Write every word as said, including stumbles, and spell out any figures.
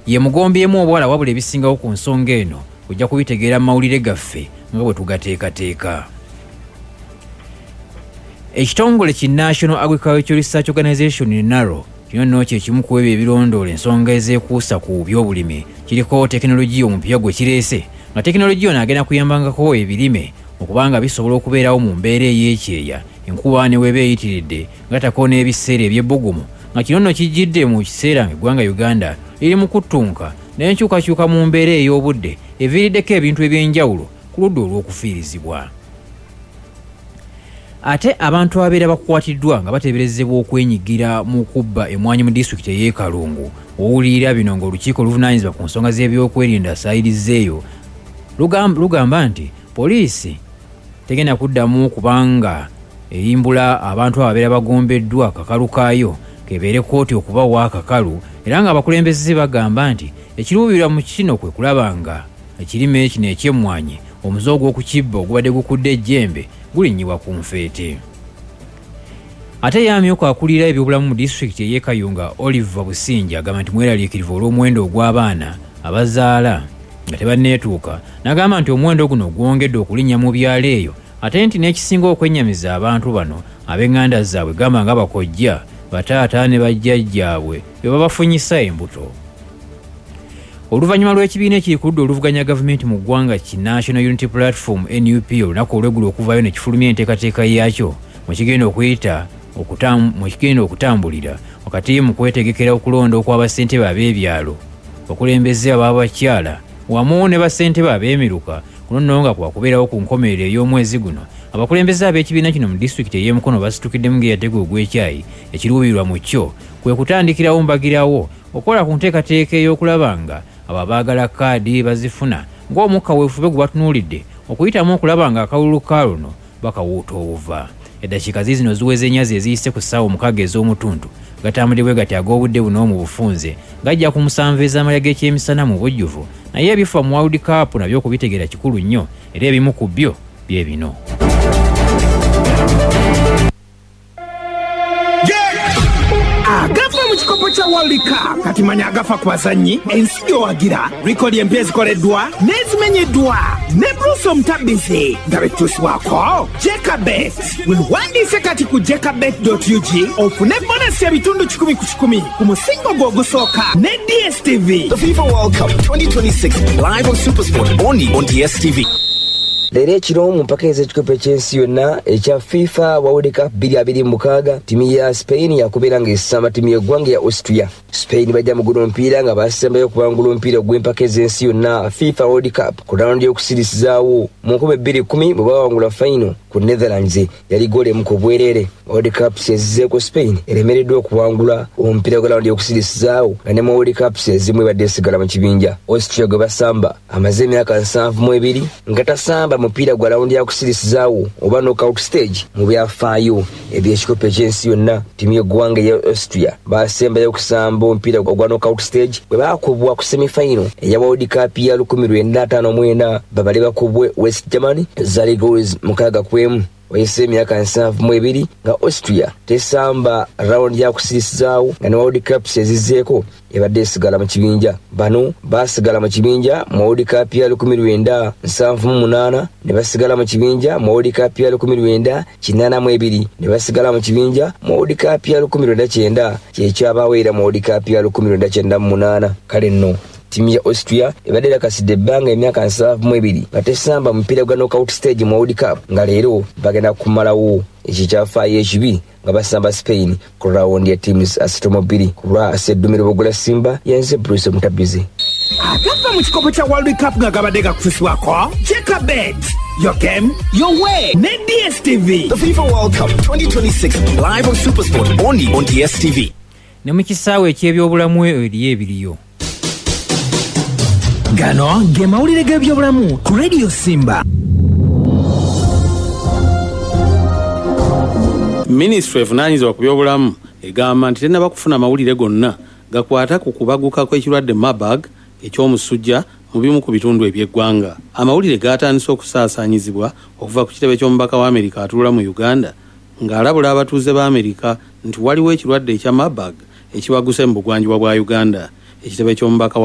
Ye mugombyemu obwala, wabula ebisingawo ku nsonga eno ojja kubitegeera mu mawulire gaffe nga bwe tugateekateeka. Ekitongole ki National Agricultural Research Organization, NARO, kino nno kye kimu ku ebyo ebirondoola ensonga ezeekuusa ku byobulimi, kiriko tekinologiya omupya gwe kireese, nga tekinologiya ono agenda kuyambangako ebirime okubanga bisobola okubeerawo mu mbeera ey'ekyeya, enkuba ne weeba eyitiridde, gatako n'ebiseera eby'ebbugumu, nga kino nno kijjidde mu kiseera ng'eggwanga Uganda liri mu kuttunka n'enkyukakyuka mu mbeera ey'obudde eviiriddeko ebintu eby'enjawulo ku ludda olw'okufiirizibwa. Ate abantu ababeera bakwatiddwa nga bateeberezebwa okwenyigira mu kubba emmwanyi mu disitulikiti ey'e Kalungu, owulira bino ng'olukiiko oluvunaanyizibwa ku nsonga z'ebyokwerinda saayirizeeyo lugamba nti poliisi tegenda kuddamu kubanga eyimbula abantu ababeera bagombeddwa kakalu kaayo kebeere kkooti okubawa akakalu, era ng'abakulembeze bagamba nti ekiruubirirwa mu kino kwe kulaba nga ekirime kino eky'emmwanyi omuze ogw'okukibba ogubadde gukudde ejjembe gulinnyibwa ku nfeete. Ate ye amyuka akulira ebyobulamu mu disitulikiti ey'e Kayunga, Oliver Businja, agamba nti mweraliikirivu olw'omuwendo ogw'abaana abazaala nga tebanneetuuka, n'agamba nti omuwendo guno gwongedde okulinnya mu byalo eyo, ate nti n'ekisinga okwennyamiza abantu bano ab'eŋŋanda zaabwe gamba nga bakojja, bataata ne bajjajjaabwe be babafunyisa embuto. Oluvannyuma lw'ekibiina ekiri ku ludda oluvuganya gavumenti mu ggwanga ki National Unity Platform N U P olunaku olw'eggulo okuvaayo ne kifulumya enteekateeka yaakyo mwe kigenda okuyita mwe kigenda okutambulira wakati mu kwetegekera okulonda okw'abassentebe ab'ebyalo, abakulembeze ab'abakyala wamu ne bassentebe ab'emiruka, kuno nno nga kwakubeerawo ku nkomerero ey'omwezi guno. Abakulembeze ab'ekibiina kino mu disitulikiti ey'e Mukono basitukiddemu ng'eyatega ogw'ekyayi. Ekiruubirirwa mu kyo kwe kutandikirawo mbagirawo okukola ku nteekateeka ey'okulaba nga abo abaagala kaadi bazifuna ng'omukka weefube gwe batunuulidde okuyitamu okulaba nga akalulu ka luno bakawuuta obuva. Eddakiika ziizino ziweze ennyazi eziyise ku ssaawa omukaaga ez'omutuntu gatambudde bwe gati ag'obudde buno mu bufunze gajja ku musanvu ez'amalya g'ekyemisana mu bujjuvu, naye ebifa mu World Cup nabyo okubitegeera kikulu nnyo, era ebimu ku byo bye bino. Agafa mu kikopo kya World Cup kati manya agafa ku bazannyi, ensi gy'owagira, rekodi empya ezikoleddwa n'ezimenyeddwa ne Bruce Omutabizi nga betuusibwako Jekabet. Weewandiise kati ku jekabet dot U G ofune bonasi ebitundu kikumi ku kikumi ku musingo gwo ogusooka ne D S T V. The FIFA World Cup twenty twenty-six live on SuperSport only on D S T V. Leero ekiro mu mpaka ez'ekikopo eky'ensi yonna ekya FIFA World Cup bbiri abiri mukaaga, ttiimu ya Spain yakubeera ng'esamba ttiimu y'eggwanga ya Austria. Spain bajja mu guno omupiira nga basembayo okubangula omupiira ogw'empaka ez'ensi yonna FIFA World Cup ku rawundi y'okusirisizaawo mu nkumi bbiri kkumi bwe bawangula fayino ku Netherlands yali ggoolo emu ku bwereere. World Cup ezizeeko Spain eremereddwa okuwangula omupiira gwa rawundi y'okusirisizaawo nga ne mu World Cups ezimu ebadde esigala mu kibinja. Austria gwe basamba amaze emyaka nsanvu mu ebiri nga tasamba mupiira gwa rawundi yakusirisizaawo oba knockout stage mu byafaayo eby'ekikopo eky'ensi yonna. Ttiimu y'eggwanga eya Austria basembayo okusamba omupiira ogwa knockout stage bwe baakubwa ku semifinal eya World Cup ya lukumi lwenda ataano mu ena babale bakubwe West Germany zaali goals mukaaga ku emu. Wayise emyaka nsanvu mu ebiri nga Austria tesamba rawundi yakusirisizaawo nga ne World Cups ezizzeeko ebadde esigala mu kibinja. Bano baasigala mu kibinja mu World Cup ya lukumi lwenda nsanvu mu munaana, ne basigala mu kibinja mu World Cup ya lukumi lwenda kinaana mu ebiri, ne basigala mu kibinja mu World Cup ya lukumi lwenda kyenda, kyekyabaawo era mu World Cup ya lukumi lwenda kyenda mu munaana. Kale nno ttiimu ya Austria ebadde erakasidde ebbanga emyaka nsanvu mu ebiri nga tesamba mupiira gwa knockout stage mu World Cup, nga leero bagenda kumalawo ekikyafaayo ekibi nga basamba Spain ku rawundi ya teams asatu mu bbiri. Ku lwa Sseddumiro Bugula Simba, yenze Bruce Mutabizi. Agafa mu kikopo kya World Cup nga gabadde gakutusibwako Jekabet, your game, your way ne D S T V. The FIFA World Cup twenty twenty-six live on SuperSport only on D S T V. Ne mu kisaawe eky'ebyobulamu eriyo ebiriyo. Gano ge mawulire g'ebyobulamu ku Radio Simba. Minisitule evunaanyizibwa ku byobulamu egamba nti tennaba kufuna mawulire gonna gakwata ku kubaguka kw'ekirwadde Marburg eky'omusujja mu bimu ku bitundu eby'eggwanga. Amawulire gaatandise okusaasaanyizibwa okuva ku kitebe ky'omubaka wa Amerika atuula mu Uganda ng'alabula abatuuze ba Amerika nti waliwo ekirwadde ekya Marburg ekibaguse mu bugwanjuba bwa Uganda. Ekitebe ky'omubaka wa